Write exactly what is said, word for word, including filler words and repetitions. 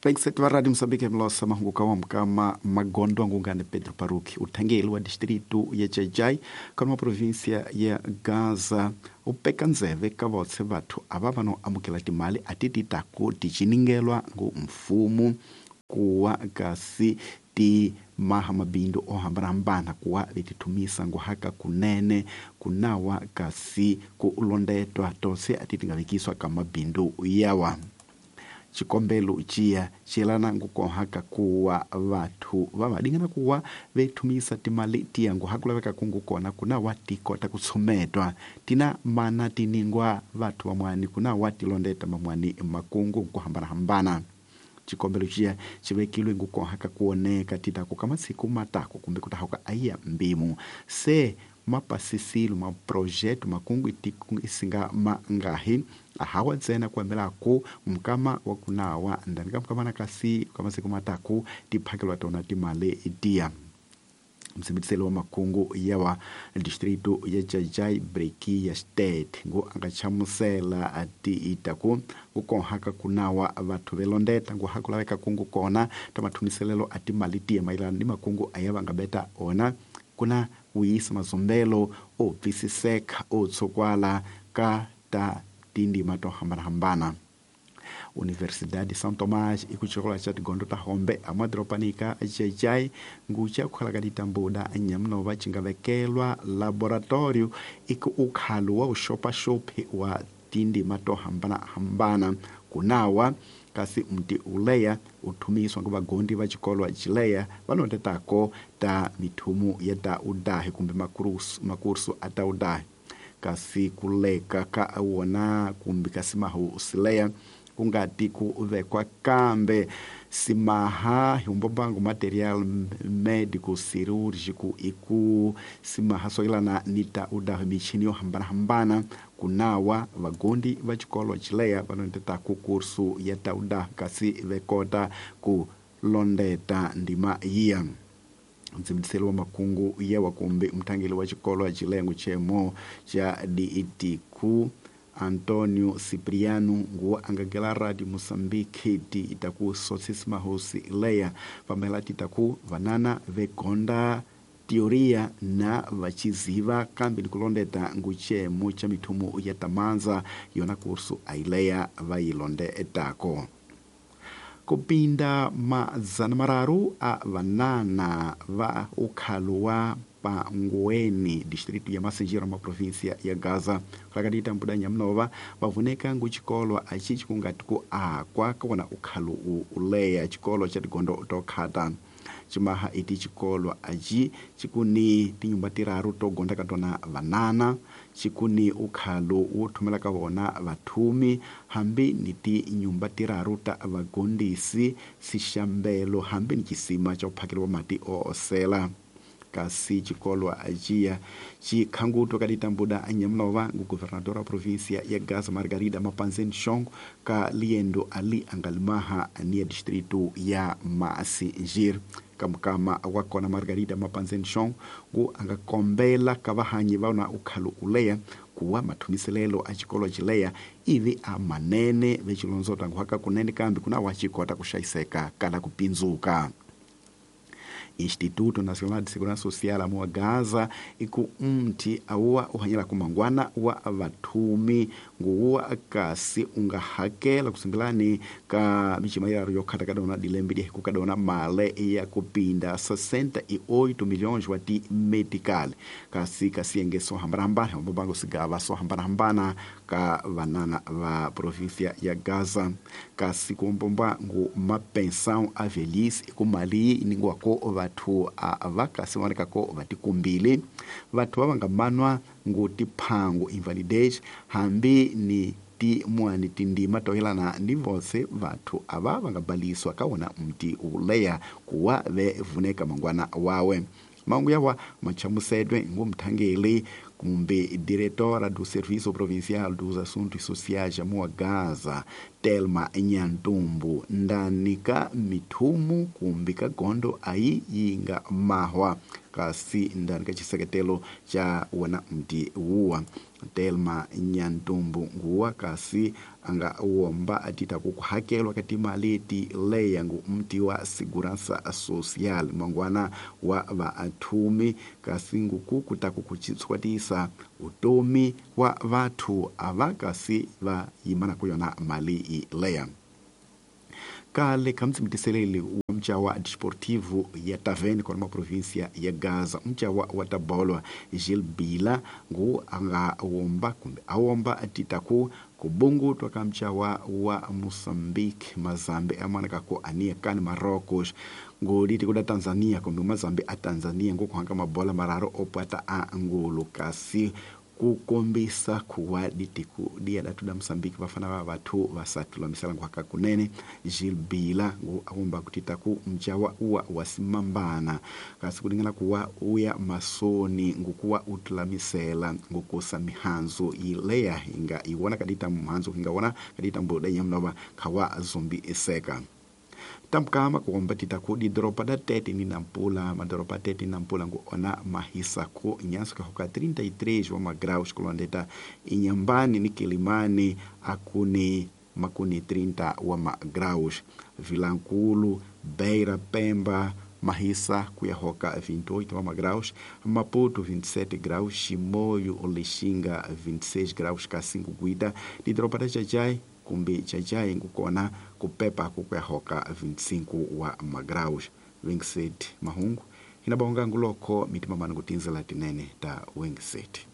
Vaingiseti va Radio Moçambique mlosa mahungu wa mkama magondo angungane Pedro Paruki uthangeli wa distrito ya Xai-Xai kana wa província ya Gaza upeka ndzeve ka votse vathu ava va no amukela timali a ti ti taku ti ciningelwa ngu mfumo kuwa kasi ti maha mabindu o hambanahambana kuwa vetithumisa nguhaka kunene kunawa kasi ku londetwa tose a ti ti nga vekiswa ka mabindu yawa. Xikombelo ciya xiyelana ngukohaka kuwa vathu va vadingana kuwa vethumisa timali tiya nguha ku laveka kungu kona kunawa ti kota ku tshumetwa tina mana tiningwa vathu vamwani kunawa ti londeta mamwani makungu ku hambanahambana. Xikombelo ciya xi vekilwe ngukohaka kuoneka titaku ka masiku matako kumbe ku tahuka ayiya mbimu se mapasisilo maprojeto makungu isinga mangahi ahawa ntsena ku ku mukama wa kunawa ndani ka mukama na kasi ka masiku mataku tiphakelwa tona timali tiya. Msimbiselo wa makungu yawa distrito ya Xai-Xai Breki ya State ngo anga chamusela ati itaku kukohaka kunawa vathu velondeta ngo hakulaveka kungu kona ta mathumiselelo ati mali tiya mayelana ni makungu ayava nga beta ona kuna uyisa mazombelo o twisiseka o tsokwala ka ta tindima to hambanahambana. Universidade São Tomás e kuchikola cha tigondo ta hombe amadropanika Xai-Xai ngucha kukhala ka ditambuda nyamnova chingavekelwa laboratorio iku ukhalu wa uxopaxopi wa tindima to hambanahambana kunawa kasi mti uleya uthumiswa ngo vagondi va xikolo xileya va londetako ta mithumu ya ta udahi kumbe makursu makursu a ta udahi kasi kuleka ka wona kumbe kasi mahu sileya kungati ku vekwa kambe simaha himbombango material médico cirúrgico iku simaha soyelana ni ta udahi michini yo hambanahambana kunawa vagondi va xikolo xileya va londeta ku kursu ya ta udahi kasi vekota ku londeta ndima yiya. Mtsimbiselo wa makungu yawa kumbe mthangeli wa xikolo xilengo chemo xa D E T Q Antonio Cipriano nguwa angagela Radio Moçambique ti itaku sotsisi mahosi leya pamela titaku vanana vegonda teoria na vachiziva kambe ni kulondeta nguchemo cha mithumu ya tamanza yona kursu aileya vayilonde etako. Kupinda mazana mararu a vanana va ukhalu wa Pangueni distrito ya Massingir ma província ya Gaza rakadita mbuda nyamnova vavuneka nguchikolo achi chikungati ku akwa kona ukhalu uleya chikolo cha tigondo tokhata chimaha iti chikolo achi chikuni tinyumba tiraru togonda katona vanana chikuni ukhalu wo thumela ka vona vathumi hambi ni tinyumba tiraru ta vagondisi sixambelo hambi ni xisima xa ku phakeliwa mati o osela. Kasi xikolo ajiya xikhanguto ka ditambuda anyamnova ngu governadora wa província ya Gaza Margarida Mapanzeni Xongo ka liendo ali angalimaha ni ya distrito ya Massingir. Kamukama wa kona Margarida Mapanzeni Xongo ngu angakombela ka vahanyi va na ukhalu uleya kuwa mathumiselelo a xikolo xileya ivi a manene vexilondzota nguhaka kunene kambe kuna wa xikota ku xayiseka kala ku pindzuka. Instituto Nacional de Segurança Social amuwa Gaza iku mti awuwa uhanyela kumangwana wa vathumi nguwa kasi ungahakela kusimbilani ka michima yaro yokhata kadona dilembe di kadona male ya kupinda sessenta e oito milhões wa ti medical kasi kasi so hambanahambana mbango sigava so hambanahambana ka vanana va província ya Gaza kasi kumbomba ngu mapensão a velhice iku mali iningwa ko vathu a vakasi vonekako vatikumbile vathu va nga manwa ngu tiphangu invalidez hambi ni timwani tindima toyelana ni vose vathu ava va nga baliswa ka wona mti uleya kuwa ve vuneka mangwana wawe mangu yawa machamusedwe ngu mthangeli Kumbe diretora do Serviço Provincial dos Assuntos Sociais ya Gaza Telma Nyantumbu ndani ka mithumu kumbe ka gondo ayi yinga mahwa kasi ndani ka chiseketelo cha wona mti wuwa Telma Nyantumbu nguwa kasi anga womba atita kukuhakelwa katimali ti leya ngu mti wa Segurança Social mangwana wa vaathumi kasi nguku kutaku kuchitswatisa utomi wa vathu ava kasi va yimana kuyona mali leya. Kale kamtsimitiseleli wa mchawa desportivo ya Tavene kwa província ya Gaza mchawa wa tabolwa Gil Bila ngu anga womba kumbe awomba atitaku kubungutwa ka mchawa wa Moçambique Mazambi amana kako ania kani Marrocos ngoliti kuda Tanzania kumbe Mazambi a Tanzania ngukuhanga mabola mararo opata a ngulu kasi kukombisa kuwa ditiku dia datu da Moçambique vafana va vathu vasatulamisela nkuhaka kunene Gil Bila ngu awomba kutita ku mchawa uwa wasimambana kasi kulingana kuwa uya masoni ngukuwa utulamisela ngukusa mihanzo ileya inga iwona kadita mhanzo ingawona kadita mbuda yamnova kawa zombi eseka. Tamkama kuomba titaku di doropa da Tete ni Nampula, madoropa Tete ni Nampula ngu ona mahisa ku nyanso kahoka trinta e três wa magraus kulondeta Inhambane ni Kilimani akuni makuni trinta wa magraus Vilankulu, Beira, Pemba, Mahisa kuyahoka vinte e oito wa magraus, Maputo vinte e sete graus, Chimoio, Lixinga vinte e seis graus, Kassingo Guida, di doropa da Jajai kumbe Jajai ngukona kupepa kukuyahoka vinte e cinco wa magraus. Wingset mahungu inabonga nguloko mitima manu kutinzela tinene ta Wingset.